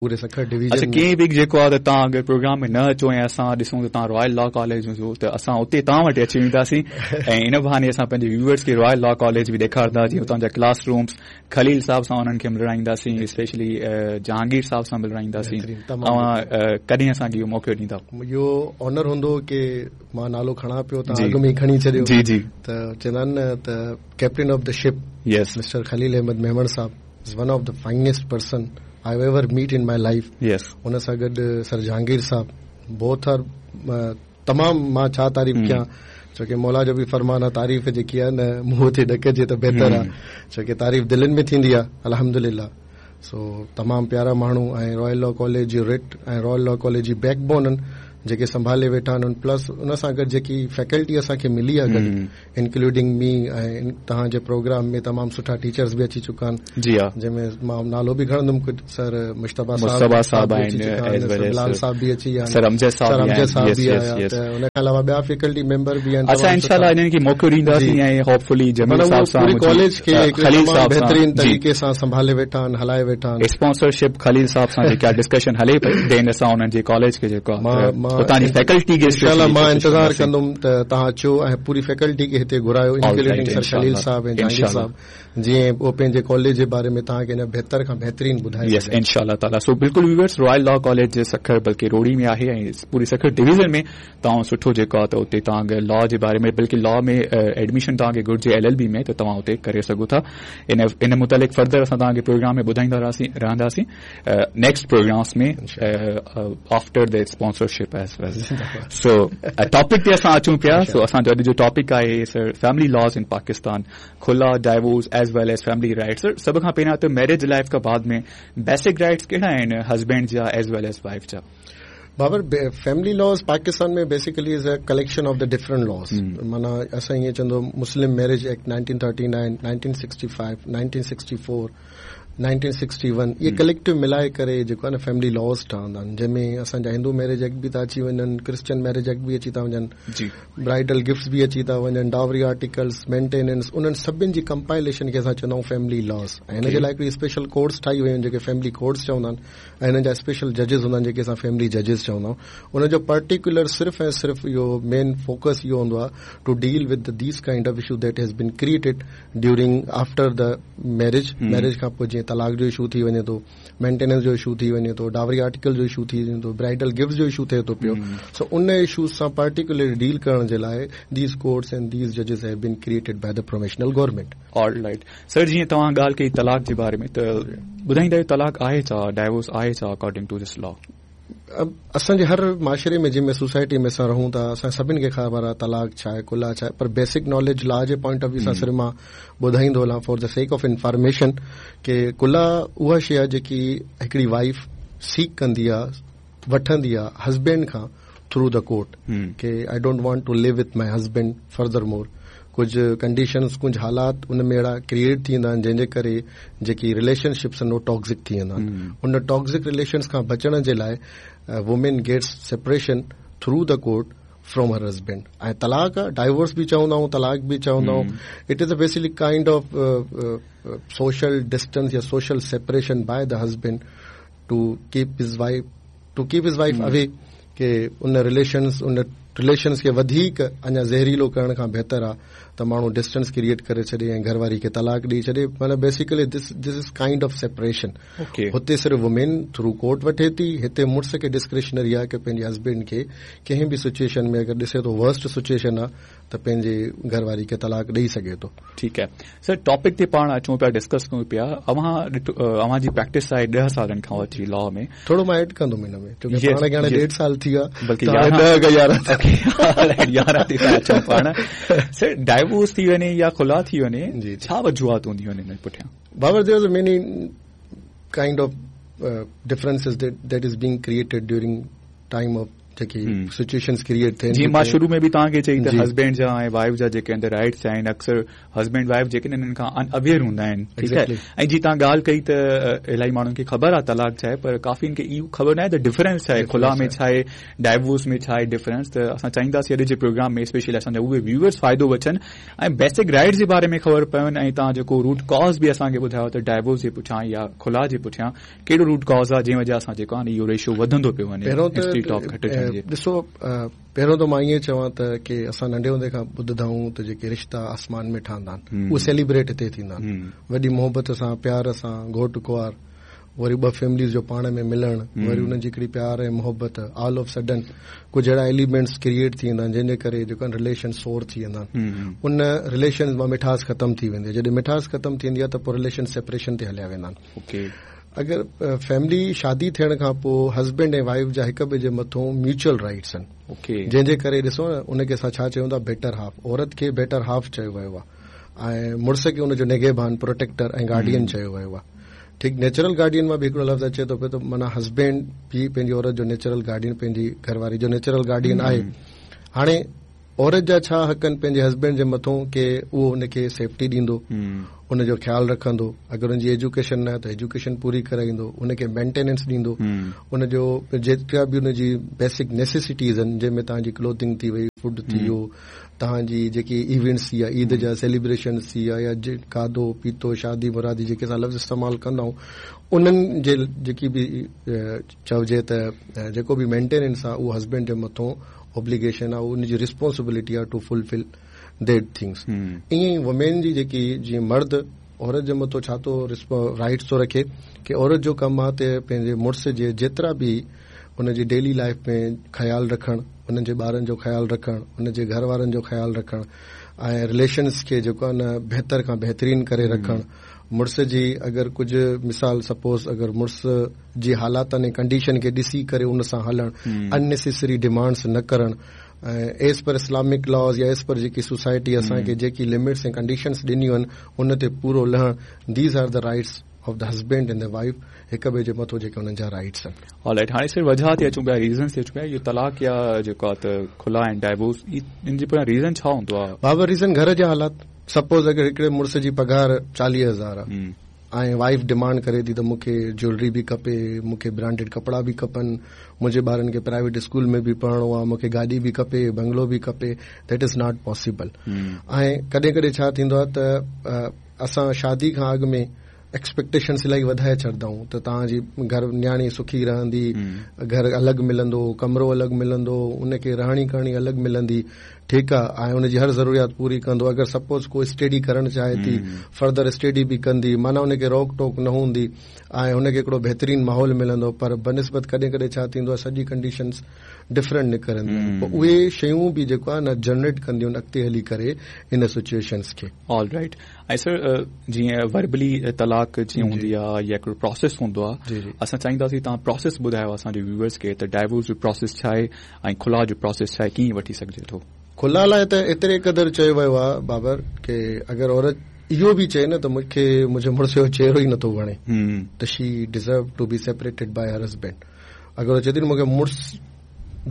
پوري سکر ڊويزن اڇا ۾. ڪنهن به جيڪو آ ته توهان اگر پروگرام ۾ نه اچو ۽ اسان ڏسون ته توهان رائل لا ڪاليج ۾ هجو ته اسان اتي توهان وٽ اچي وينداسين ۽ ان بهاني اسان پنهنجي ويوئرس کي رائل لا ڪاليج به ڏيکارندا جيئن اتان جا ڪلاس رومس خليل صاحب سان انهن کي ملرائينداسين اسپيشلي جهانگير صاحب سان ملرائينداسين اوهان ڪڏهن اسان کي اهو موقعو ڏيندا اهو آنر هوندو ڪي مان نالو کڻان پيو توهان اڳ ۾ ئي کڻي ڇڏيو جي جي ته چوندا آهن نه ته captain of the ship yes mister Khalil Ahmed Memon صاحب is one of the finest person I have ever meet in my life yes ان سان گڏ سر جهانگير صاحب بوٿ آر تمام مان ڇا تعريف ڪيان ڇو ڪي مولا جو به فرمان آ تعريف جيڪي آ نه منهن تي نه ڪجي ته بهتر آ ڇو ڪي تعريف دلين ۾ ٿيندي آ الحمدلله سو تمام پيارا ماڻهو ۽ رائل لا ڪاليج جي رٽ ۽ رائل لا ڪاليج جي بيڪ بون جيڪي سنڀالي ويٺا آهن پلس ان سان گڏ جيڪي فيڪلٽي اسان کي ملي آ گڏ انڪلوڊنگ مي ۽ توهان جي پروگرام ۾ تمام سٺا ٽيچرز به اچي چڪا آهن جي ها جنهن ۾ مان نالو به کڻندم ڪجهه سر مجتبيٰ مجتبيٰ صاحب به اچي چڪا آهن سر بلال صاحب به اچي ويا آهن سر امجد صاحب به آيا ته ان کان علاوه ٻيا فيڪلٽي ميمبر به آهن اسان انشاء الله انهن کي موقعو ڏينداسين ۽ هوپ فلي جميل صاحب سان پوري ڪاليج کي خليل صاحب بهترين طريقي سان سنڀالي ويٺا آهن هلائي ويٺا آهن اسپانسرشپ خليل صاحب سان جيڪا ڊسڪشن هلي پئي دين اسان انهن جي ڪاليج کي جيڪو اتان جي فيڪلٽي کي انشاء الله مان انتظار ڪندم ته توهان اچو ۽ پوري فيڪلٽي کي هتي گهرايو انڪلوڊنگ سر خليل صاحب ۽ جهانگير صاحب جيئن هو پنهنجي ڪاليج جي باري ۾ توهان کي اڃا بهتر کان بهترين ٻڌائي يس انشاء الله تعالي سو بلڪل viewers Royal law college Sukkur بلڪه روهڙي ۾ آهي ۽ پوري سکر ڊويزن ۾ توهان سٺو جيڪو آهي ته اتي توهان اگر لا جي باري ۾ بلڪه لا ۾ ايڊميشن توهان کي گهرجي ايل ايل بي ۾ ته توهان اتي ڪري سگهو ٿا ان ان متعلق فردر اسان توهان کي پروگرام ۾ ٻڌائيندا رهنداسين next programmes ۾ after the sponsorship as well so topic تي اسان اچون پيا سو اسان جو اڄ جو ٽاپڪ آهي sir family laws in Pakistan خلع divorce as well as family rights sir سڀ کان پهريان ته ميرج لائف کان بعد ۾ بيسڪ رائٽس ڪهڙا آهن هسبينڊ جا ايز ويل ايز وائف جا Babar family laws Pakistan ۾ basically is a collection of the different laws معنيٰ اسان ائين چوندو مسلم ميرج ايڪٽ 1939 1965 1964 1961 اهي ڪليڪٽو ملائي ڪري جيڪو آهي نه فيملي لاز ٺهندا آهن جنهن ۾ اسان جا هندو ميرج ايڪٽ به ٿا اچي وڃن ڪرسچن ميرج ايڪٽ به اچي ٿا وڃن برائيڊل گفٽس به اچي ٿا وڃن ڊاوري آرٽيڪلس مينٽيننس انهن سڀن جي ڪمپائليشن کي اسان چوندا آهيون فيملي لاز ۽ هن جي لاء هڪڙي اسپيشل ڪورٽس ٺاهي ويون آهن جيڪي فيملي ڪورٽس چوندا آهن ۽ هنن جا اسپيشل ججز هوندا آهن جيڪي اسان فيملي ججز چوندا آهيون ان جو پرٽيڪولر صرف ۽ صرف اهو مين فوڪس اهو هوندو آهي to deal with these kind of issue that has been created during after the marriage marriage کان پوء جيئن طلاق جو اشو ٿي وڃي ٿو مينٽيننس جو اشو ٿي وڃي ٿو ڊاوري آرٽيڪل جو اشو ٿي وڃي ٿو برائيڊل گفٽس جو اشو ٿئي ٿو پيو سو ان اشوز سان پرٽيڪولرلي ڊيل ڪرڻ جي لاء these courts and these ججز have been created by the provisional government. All right sir جيئن توهان ڳالهه ڪئي طلاق جي باري ۾ ته ٻڌائيندا طلاق آهي ڇا ڊائيورس آهي ڇا اڪارڊنگ ٽو this لا. اسان جي هر معاشري ۾ جنهن ۾ سوسائٽي ۾ اسان رهون ٿا اسان سڀن کي خبر آهي طلاق ڇا آهي خلع ڇا آهي پر بيسڪ ناليج لا جي پوائنٽ آف ويو سان صرف مان ٻڌائيندو هلان for the sake of information ڪي خلع اها شي آهي جيڪي هڪڙي وائيف سيڪ ڪندي آهي وٺندي آهي هسبينڊ کان through the court K I don't want to live with my husband further more ڪجهه ڪنڊيشنز ڪجهه حالات ان ۾ اهڙا ڪريئيٽ ٿيندا آهن جنهن جي ڪري جيڪي رليشن شپس آهن اهي ٽاڪزڪ ٿي ويندا آهن ان ٽاڪزڪ رليشنز کان بچڻ جي لاء women gets separation through the court from her husband ۽ طلاق ڊائيورس به چوندا آهيون طلاق به چوندا آهيون it is a basically kind of social distance يا social separation by the husband to keep his wife to keep his wife away K in relations in relations کي وڌيڪ اڃا زهريلو ڪرڻ کان بهتر آ ته ماڻهو ڊسٽنس ڪريئيٽ ڪري ڇڏي ۽ گهر واري کي طلاق ڏئي ڇڏي معنيٰ basically this this is kind of separation هتي صرف وومين ٿرو ڪورٽ وٺي ٿي هتي مڙس کي ڊسڪريشنري آ ڪي پنهنجي هسبينڊ کي ڪنهن به سچوئيشن ۾ اگر ڏسي ٿو ورسٽ سچوئيشن آ ته پنهنجي گهر واري کي طلاق ڏئي سگهي ٿو. ٺيڪ آهي سر ٽاپڪ تي پاڻ اچون پيا ڊسڪس ڪيون پيا اوهان ڏٺو اوهان جي پريڪٽس آهي ڏهه سالن کان وٺي لا ۾. ٿورو مان ايڊ ڪندم ان ۾ ڇو ڪي پاڻ کي هاڻي ڏيڍ سال ٿي ويو آهي بلڪه ته هاڻي ڏهه کان 11 11 تي ٿا اچون پاڻ سر ڊائيورس ٿي وڃي يا خلع ٿي وڃي ڇا وجوهات هونديون آهن ان پٺيان. Babar there is many kind of differences that is being created during time of. جيڪي سچوئيشنز ڪريئيٽ ٿين. جيئن مان شروع ۾ به توهان کي چئي ته هسبينڊ جا ۽ وائيف جا جيڪي اندر رائيٽس آهن اڪثر هسبينڊ وائيف جيڪي انهن کان ان اويئر هوندا آهن ٺيڪ آهي ۽ جي توهان ڳالهه ڪئي ته الاهي ماڻهن کي خبر آهي طلاق ڇا آهي پر ڪافي کي اهو خبر ناهي ته ڊفرنس ڇا آهي خلع ۾ ڇا آهي ڊائيورس ۾ ڇا آهي ڊفرنس ته اسان چاهينداسين اڄ جي پروگرام ۾ اسپيشلي اسان جا اهي ويوئرس فائدو وٺن ۽ بيسڪ رائيٽس جي باري ۾ خبر پون ۽ توهان جيڪو روٽ ڪاز به اسان کي ٻڌايو ته ڊائيورس جي پٺيان يا خلع جي پٺيان ڪهڙو روٽ ڪاز آهي جنهن وجه سان جيڪو آهي اهو ريشو وڌندو پيو وڃي پهريون ته ڏسو پهريون ته مان ائين چوان ته ڪي اسان ننڍي هوندي کان ٻڌندا آهيون ته جيڪي رشتا آسمان ۾ ٺهندا آهن اهي سيليبريٽ هتي ٿيندا آهن وڏي محبت سان پيار سان گهوٽ ڪنوار وري ٻه فيمليز جو پاڻ ۾ ملڻ وري انهن جي هڪڙي پيار ۽ محبت آل آف سڊن ڪجهه اهڙا ايليمينٽس ڪريئيٽ ٿي ويندا آهن جنهن جي ڪري جيڪو آهن رليشن سور ٿي ويندا آهن ان رليشن مان مٺاس ختم ٿي ويندي آهي جڏهن مٺاس ختم ٿيندي آهي ته پوء رليشن سيپريشن تي هليا ويندا آهن اگر فيملي شادي ٿيڻ کان پوء هسبينڊ ۽ وائيف جا هڪ ٻئي جي مٿون ميوچل رائيٽس آهن جنهن جي ڪري ڏسو نه ان کي اسان ڇا چئون ٿا بيٽر هاف عورت کي بيٽر هاف چيو ويو آهي ۽ مڙس کي ان جو نگهبان پروٽيڪٽر ۽ گارڊين چيو ويو آهي ٺيڪ نيچرل گارڊين مان به هڪڙو لفظ اچي ٿو پيو ته معنيٰ هسبينڊ به پنهنجي عورت جو نيچرل گارڊين پنهنجي گهر واري جو نيچرل گارڊين آهي هاڻي عورت جا ڇا حق آهن پنهنجي هسبينڊ جي مٿون ڪي اهو ان کي سيفٽي ڏيندو ان جو خيال رکندو اگر ان جي ايجوڪيشن نه آهي ته ايجوڪيشن پوري ڪرائيندو ان کي مينٽيننس ڏيندو ان جو جيترا به ان جي بيسڪ نيسيسٽيز آهن جنهن ۾ توهان جي ڪلوٿنگ ٿي وئي فوڊ ٿي ويو توهان جي جيڪي ايونٽس ٿي ويا عيد جا سيليبريشنس ٿي ويا يا کاڌو پيتو شادي مرادي جيڪي اسان لفظ استعمال ڪندا آهيون انهن جي جيڪي به چئجي ته جيڪو به مينٽيننس آهي اهو هسبينڊ جي مٿون اوبليگيشن آهي ان جي ريسپانسبلٽي آهي ٽو فلفل that things ائين ئي وومين جي جيڪي جيئن مرد عورت جي مٿو ڇا ٿو رائٽس ٿو رکي ڪي عورت جو ڪم آهي ته پنهنجي مڙس جي جيترا به ان جي ڊيلي لائف ۾ خيال رکڻ انهن جي ٻارن جو خيال رکڻ ان جي گهر وارن جو خيال رکڻ ۽ رليشنس کي جيڪو آهي نه بهتر کان بهترين ڪري رکڻ مڙس جي اگر ڪجهه مثال سپوز اگر مڙس جي حالاتن ۽ ڪنڊيشن کي ڏسي ڪري ان سان هلڻ ان نيسيسري ڊيمانڊس نه ڪرڻ ۽ ايز پر اسلامڪ لاز يا ايز پر جيڪي سوسائٽي اسان کي جيڪي لمٽس ۽ ڪنڊيشنس ڏنيون آهن ان تي پورو لهڻ these are the rights of the husband and the wife هڪ ٻئي جي مٿو جيڪي انهن جا رائٽس آهن. آل رائٽ هاڻي صرف وجهه تي اچون پيا ريزنس تي اچون پيا اهو طلاق يا جيڪو آهي ته خلع ۽ ڊائيورس ان جي پويان ريزن ڇا هوندو آهي؟ بابا ريزن گهر جا حالات سپوز اگر هڪڙي مڙس جي پگهار 40,000 آهي ۽ وائيف ڊمانڊ ڪري ٿي ته مون کي جيولري به کپي، مون کي برانڊيڊ ڪپڙا به کپن، منهنجي ٻارن کي پرائيويٽ اسڪول ۾ به پڙهڻو آهي، مون کي گاڏي به کپي، بنگلو به کپي، that is not possible. ۽ ڪڏهن ڪڏهن ڇا ٿيندو آهي ته اسان شادي کان اڳ ۾ ايڪسپيڪٽيشنس الاهي وڌائي ڇڏندا آهيون ته توهان جي گهر نياڻي سکي رهندي، گهر الڳ ملندو، ڪمرو الڳ ملندو، ان کي رهڻي ڪرڻي الڳ ملندي، ٺيڪ آ ۽ ان جي هر ضروريات پوري ڪندو اگر سپوز ڪو اسٽيڊي ڪرڻ چاهي ٿي فردر اسٽيڊي به ڪندي معنيٰ ان کي روڪ ٽوڪ نه هوندي ۽ هن کي هڪڙو بهترين ماحول ملندو پر بنسبت ڪڏهن ڪڏهن ڇا ٿيندو آهي سڄي ڪنڊيشنز ڊفرنٽ نڪرنديون آهن پوء اهي شيون به جيڪو آهي نه جنريٽ ڪنديون آهن اڳتي هلي ڪري ان سچوئيشنز کي. آل رائيٽ ۽ سر جيئن وربلي طلاق جيئن هوندي آ يا هڪڙو پراسيس هوندو آ اسان چاهينداسين توهان پراسيس ٻڌايو اسان جي ويوئرز کي ته ڊائيورس جو پراسيس ڇا آهي ۽ خلع جو پراسيس ڇا آهي ڪيئن وٺي سگهجي ٿو؟ خلع لاء ته ايتري قدر چيو ويو آهي بابر ڪي اگر عورت اهو به چئي نه ته مون کي منهنجي مڙس جو چهرو ئي نٿو وڻي ته she deserve to be separated by her husband اگر هو چئي ٿي نه مون کي مڙس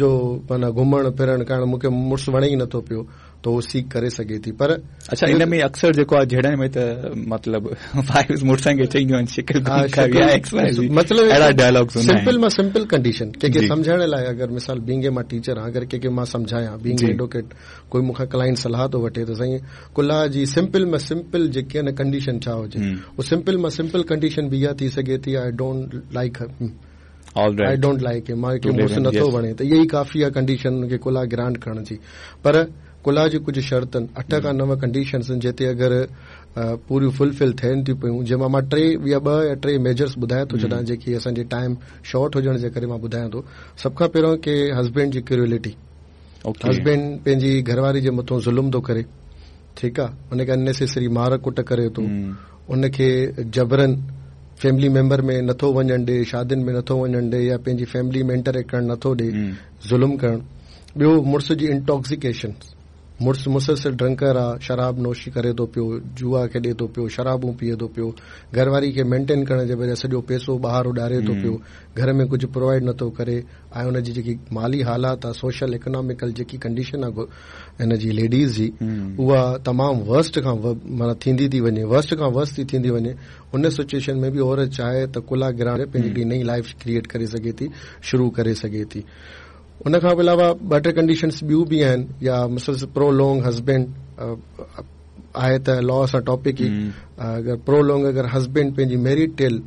جو معنيٰ گهمڻ ڦرڻ ڪرڻ مون کي مڙس وڻي ئي نٿو پيو ته هو سيڪ ڪري سگهي ٿي پر اڇا ان ۾ اڪثر جيڪو آهي جهيڙن ۾ ته مطلب وائيفز مڙسن کي چئينديون آهن شڪل گم ڪر يا ايڪس وائي زي مطلب اهڙا ڊائلاگز هوندا آهن سمپل مان سمپل ڪنڊيشن ڪنهن کي سمجهائڻ لاء اگر مثال بينگ اي مان ٽيچر آهيان اگر ڪنهن کي مان سمجهايان بينگ ايڊووڪيٽ ڪوئي مون کان ڪلائنٽ صلاح ٿو وٺي ته سائين خلع جي سمپل مان سمپل جيڪي آهي نه ڪنڊيشن ڇا هجي اهو سمپل مان سمپل ڪنڊيشن به اها ٿي سگهي ٿي I don't like I don't like him مان کي مڙس نٿو وڻي ته اها ئي ڪافي آهي ڪنڊيشن ان کي خلع گرانٽ ڪرڻ جي پر خلع جي ڪجهه شرطن اٺ کان نو ڪنڊيشنس آهن جتي اگر پوريون فلفل ٿين ٿيون پيون جنهن مان مان ٽي يا ٻه يا ٽي ميجرس ٻڌايان ٿو ڇڏان جيڪي اسان جي ٽائيم شارٽ هجڻ جي ڪري مان ٻڌايان ٿو سڀ کان پهريون ڪي هسبينڊ جي ڪروئلٽي هسبينڊ پنهنجي گهرواري جي مٿون ظلم ٿو ڪري ٺيڪ آ ان کي اننيسيسري مار ڪٽ ڪري ٿو ان کي جبرن فيملي ميمبر ۾ نٿو وڃڻ ڏي شادين ۾ نٿو وڃڻ ڏي يا پنهنجي فيملي ۾ انٽريڪٽ ڪرڻ نٿو ڏي ظلم ڪرڻ ٻيو مڙس جي انٽاڪسيڪيشن مڙس مسلسل ڊرنڪر آ، شراب نوشي ڪري ٿو پيو، جوا کيڏي ٿو پيو، شرابون پيئي ٿو پيو، گهر واري کي مينٽين ڪرڻ جي بجاء سڄو پئسو ٻاهر اڏاري ٿو پيو، گهر ۾ ڪجهه پرووائيڊ نٿو ڪري ۽ ان جي جيڪي مالي حالات آ، سوشل اڪناميڪل جيڪي ڪنڊيشن آ هن جي ليڊيز جي اها تمام ورسٽ کان معنيٰ ٿيندي ٿي وڃي، ورسٽ کان ورسٽ ٿي ٿيندي وڃي، ان سچوئيشن ۾ به عورت چاهي ته خلع گرانٽ ڪري پنهنجي هڪڙي نئين لائيف ڪريئيٽ ڪري سگهي ٿي، شروع ڪري سگهي ٿي. ان کان علاوه ٻه ٽي ڪنڊيشنس ٻيون به آهن يا مسلسل پرو لانگ هسبينڊ آهي ته لا سان ٽاپڪ ئي اگر پرو لانگ اگر هسبينڊ پنهنجي ميريٽل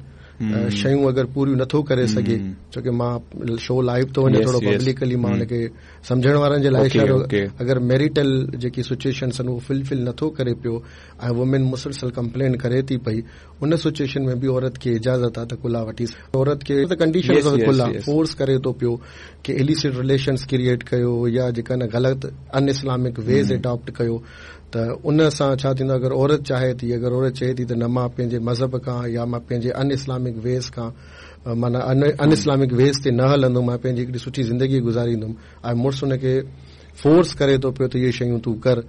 شيون اگر پوريون نٿو ڪري سگهي ڇو ڪي مان شو لائيو ٿو وڃي ٿورو پبلڪلي مان ان کي سمجهڻ وارن جي لاء اشارو اگر ميريٽل جيڪي سچويشنس آهن اهو فلفل نٿو ڪري پيو ۽ وومين مسلسل ڪمپلين ڪري ٿي پئي ان سچوئيشن ۾ به عورت کي اجازت آ ته خلع وٺي عورت کي ته ڪنڊيشن آف خلع فورس ڪري ٿو پيو ڪي اليسٽ رليشنس ڪريئيٽ ڪيو يا جيڪا نه غلط ان اسلامڪ ويز اڊاپٽ ڪيو ته ان سان ڇا ٿيندو اگر عورت چاهي ٿي اگر عورت چئي ٿي ته نه مان پنهنجي مذهب کان يا مان پنهنجي ان اسلامڪ ويز کان معنيٰ ان اسلامڪ ويز تي نه هلندم مان پنهنجي هڪڙي سٺي زندگي گذاريندم ۽ مڙس ان کي فورس ڪري ٿو پيو ته اهي شيون تون ڪر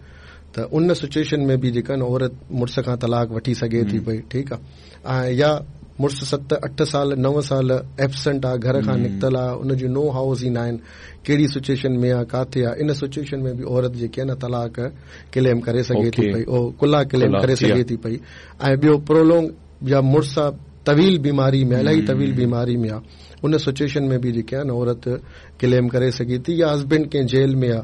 ته ان سچوئيشن ۾ به جيڪا نه عورت مڙس کان طلاق وٺي سگهي ٿي پئي ٺيڪ آ ۽ يا مڙس ست اٺ سال نو سال ايبسنٽ آ گهر کان نڪتل آ ان جون نو هائوز ئي ناهن ڪهڙي سچوئيشن ۾ آ ڪاٿي آ ان سچوئيشن ۾ به عورت جيڪي آ نه طلاق ڪليم ڪري سگهي ٿي پئي او خلع ڪليم ڪري سگهي ٿي پئي ۽ ٻيو پرولونگ يا مڙس آ طويل بيماري ۾ الاهي طويل بيماري ۾ آ ان سچوئيشن ۾ به جيڪي آ نه عورت ڪليم ڪري سگهي ٿي يا هسبينڊ ڪنهن جيل ۾ آ.